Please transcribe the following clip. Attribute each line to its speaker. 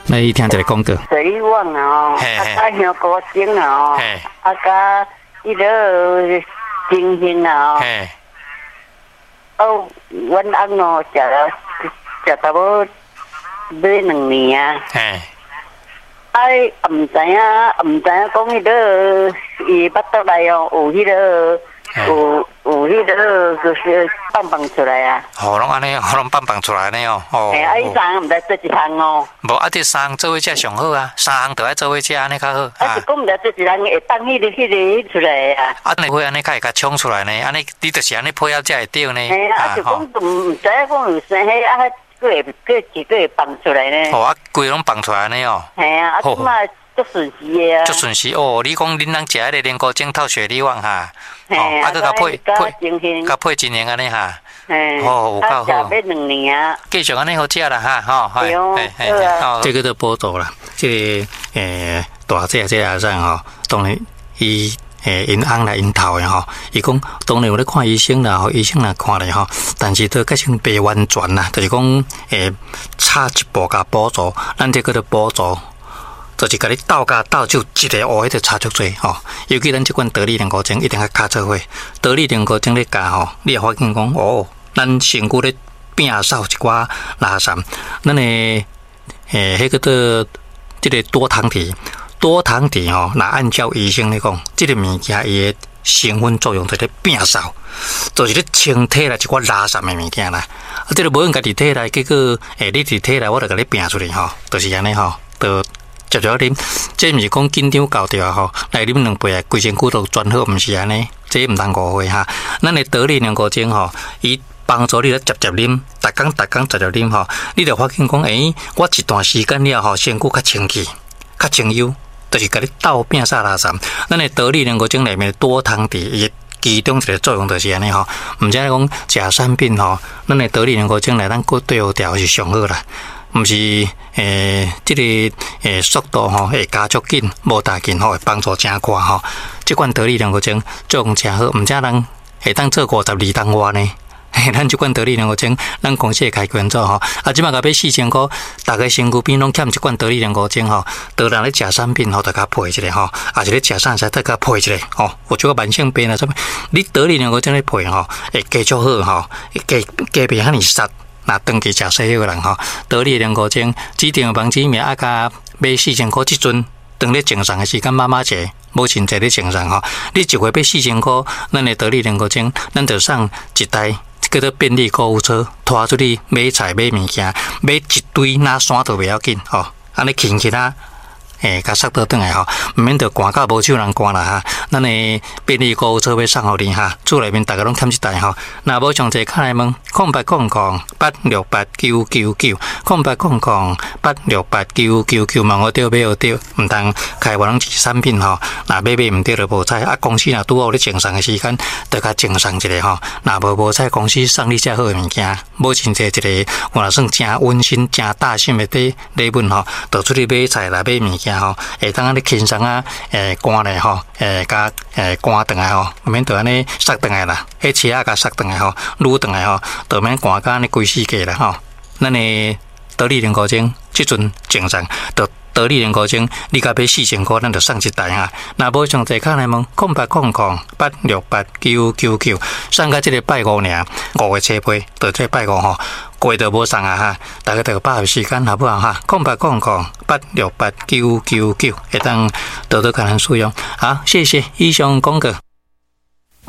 Speaker 1: 來聽一个廣告。
Speaker 2: 雪梨丸啊，啊，佮香菇精啊，啊，佮彼个精心啊，哦，阮翁哦，食了食差不多欲2年啊。哎，毋知影，毋知影講彼个伊腹肚內哦，有彼个，有彼个，就是放放出來啊。
Speaker 1: 哦，攏按呢，攏放放出來呢哦。哦。
Speaker 2: 嘿，啊，伊三項毋知做一項哦。
Speaker 1: 無啊，這三項做伙食上好啊，三項都愛做伙食，按呢較好。
Speaker 2: 啊，是講毋知做一項會放彼个出來啊。
Speaker 1: 啊，你會按呢較會共衝出來呢？按呢，你就是按呢配合才會對呢。
Speaker 2: 嘿啊，就講毋知影講有生彼啊，閣會閣一個會放出來呢。
Speaker 1: 哦，啊，規攏放出來呢哦。
Speaker 2: 嘿啊，啊，這擺足順時的啊。
Speaker 1: 足順時哦，你講恁翁食彼个龍骨精透雪梨丸哈？
Speaker 2: 哦，
Speaker 1: 啊，閣共配配，共配真型按呢哈。哦，有夠好。
Speaker 2: 食欲2年啊。
Speaker 1: 繼續按呢好食啦哈，吼，
Speaker 2: 對哦，
Speaker 1: 這个做補助啦，這个大姐這个阿婶吼，當然伊𪜶翁來𪜶頭的吼，伊講當然有咧看醫生啦，吼，醫生若看咧吼，但是都較先袂完全啦，就是講差一步共補助，咱這叫做補助。就是共你鬥甲鬥手一个烏，彼就差足濟吼。尤其咱這款得力龍骨精一定愛敲做伙，得力龍骨精咧教吼，你會發現講哦，咱身軀咧摒掃一寡垃圾，咱的彼个做這个多糖體，多糖體吼，若按照醫生咧講，這个物件伊的成分作用就咧摒掃，就是咧清體內一寡垃圾的物件啦。啊，這个無用家己體內，結果你佇體內，我就共你摒出去吼，就是按呢吼，就。接著啉，這毋是講緊張到著啊吼，來啉兩杯啊，規身軀都全好，毋是按呢，這毋通誤會哈。咱的得力龍骨精吼，伊幫助你咧捷捷啉，逐工逐工捷捷啉吼，你就發現講，我一段時間了後，身軀較清氣，較清幽，就是共你鬥摒掃垃圾。咱的得力龍骨精內面多糖體，伊其中一個作用就是按呢吼，毋知講食產品吼，咱的得力龍骨精來咱閣對付掉是上好啦。毋是這个速度吼會加速緊，無大緊吼，會幫助誠快吼。這款得力龍骨精作用誠好，毋知人會當做52冬外呢？咱這款得力龍骨精，咱公司會開捐做吼。啊，這擺共買4000箍，逐个身軀邊攏欠一罐得力龍骨精吼。當人咧食產品吼，就共配一下吼，抑是咧食啥物，得共配一下吼。有這個慢性病啊，啥物？你得力龍骨精咧配吼，會加足好吼，加加袂遐爾澀。若長期食西藥的人吼，得力龍骨精指定網址名啊，共買四千箍，這陣當咧贈送的時間，媽媽節、母親節咧贈送吼，你一月買四千箍，咱的得力龍骨精，咱就送一台叫做便利購物車，拖出去買菜買物件，買一堆哪山都袂要緊吼，按呢輕輕啊。共捒倒轉來吼，毋免著寒到無手人寒啦哈。咱的便利購物車欲送予你哈，厝內面逐家攏欠這台吼。若無詳細，敲來問0800868999，0800868999，問予著買予著，毋通開發攏是產品吼。若買買毋著就無彩。啊，公司若拄好有咧贈送的時間，就共贈送一下吼。若無無彩，公司送你遮好的物件，母親節一个，有若算誠溫馨、誠貼心的禮物吼，就出去買菜啦、買物件吼，會當按呢輕鬆啊，寒咧吼，共寒轉來吼，毋免著按呢捒轉來啦，彼車仔共捒轉來吼，擄轉來吼，就免寒甲按呢規世界啦吼。咱的得力龍骨精，這陣贈送，就得力龍骨精，你共買四千箍，咱就送一台哈。若無詳細，敲來問0800868999，送到這个拜五爾，5月初八，就這拜五吼，過就無送啊哈。大家就把握時間好不好哈？0800868999，會當多多共咱使用。好，謝謝，以上廣告。